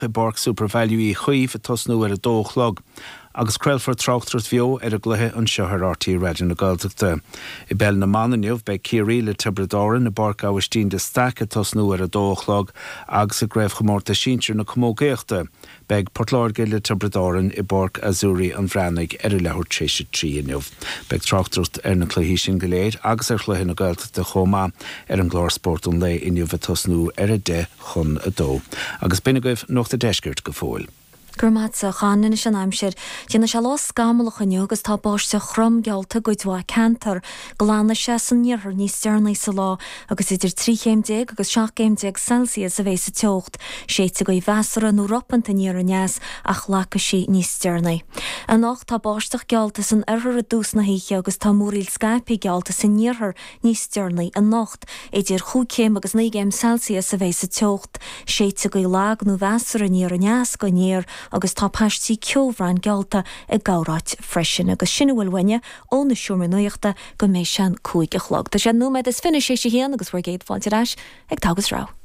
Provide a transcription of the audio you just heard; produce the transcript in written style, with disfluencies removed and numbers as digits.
I bPáirc SuperValu Uí Chaoimh ag tosnú ar a dó a chlog agus craolfar tráchtaireacht bheo ar an gcluiche anseo ar RTÉ Raidió na Gaeltachta. I bPeil na mBan inniu beidh Ciarraí le Tiobraid Árann i bPáirc Aibhistín de Staic ag tosnú ar a dó a chlog agus i gCraobhchomórtas Sinsir na Camógaíochta beidh Port Láirge le Tiobraid Árann i bPáirc Azzurri an Bhreathnaigh ar a leathuair tar éis a 3 inniu. Beidh tráchtaireacht ar na cluichí sin go léir agus ar chluiche na Gaeltachta chomh maith ar an gclár Spórt an Lae inniu ag tosnú ar 10 chun 2. Agus b'in agaibh Nuacht an Deiscirt go fóill. Go raibh maith agat, a Chon. Anois an aimsir. Déanfaidh sé lá scamallach inniu agus tá báisteach throm geallta i gcuid mhaith ceantar. Glanfaidh sé san iarthar níos deireanaí sa lá agus idir 13 chéim agus 17 gcéim Celsius a bheidh sa teocht. Séidfidh gaoth mheasartha nó ropanta aniar aneas ach lagfaidh sí níos deireanaí. Anocht tá báisteach geallta san oirthear i dtús na hoíche agus tá múraíl scaipthe geallta san iarthar níos deireanaí anocht. Idir chúig chéim agus 9 gcéim Celsius a bheidh sa teocht. Séidfidh gaoth lag nó mheasartha aniar aneas go aniar agus tá paistí ceobhráin geallta i gcorráit freisin. Agus sin a bhfuil uainne ó na Seomraí Nuachta go mbeidh sé an 5 a chlog. Tá sé nóiméad is fiche théis a haon agus bhur gcéad fáilte ar ais ag Togha is Rogha.